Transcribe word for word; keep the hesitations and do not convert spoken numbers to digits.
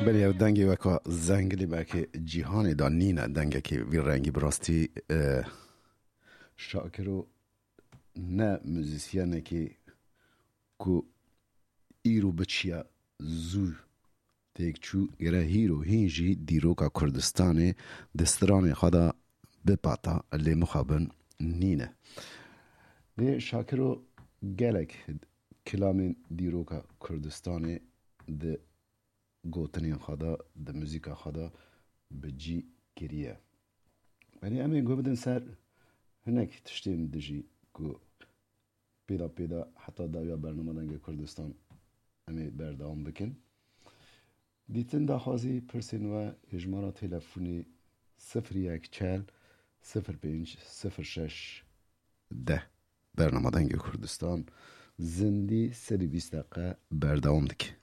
Belê ew dengê weka zengilê belkê cîhanê de nîne, dengekê vî rengî bi rastî, e, Şakiro ne muzîsyenekê ku îro biçiya zû têk çû, gere hîro hîn jî dîroka Kurdistanê di stranê xwe de bipata, lê mixabin nîne. Lê Şakiro gelek kilamên dîroka Kurdistanê di gotinên xwe de, di muzîka xwe de bi cî kiriye. Yanî em ê guh bidin ser hinek tiştên dijî ku pêda pêda heta dawiya bernama Dengê Kurdistan em ê berdewam bikin. Dîtin daxwazî pirsên we, hêjmara telefonê sifir yek çel sifir pênc sifir şeş deh. Bernama Dengê Kurdistan zindî sedî bîst deqe berdewam dike.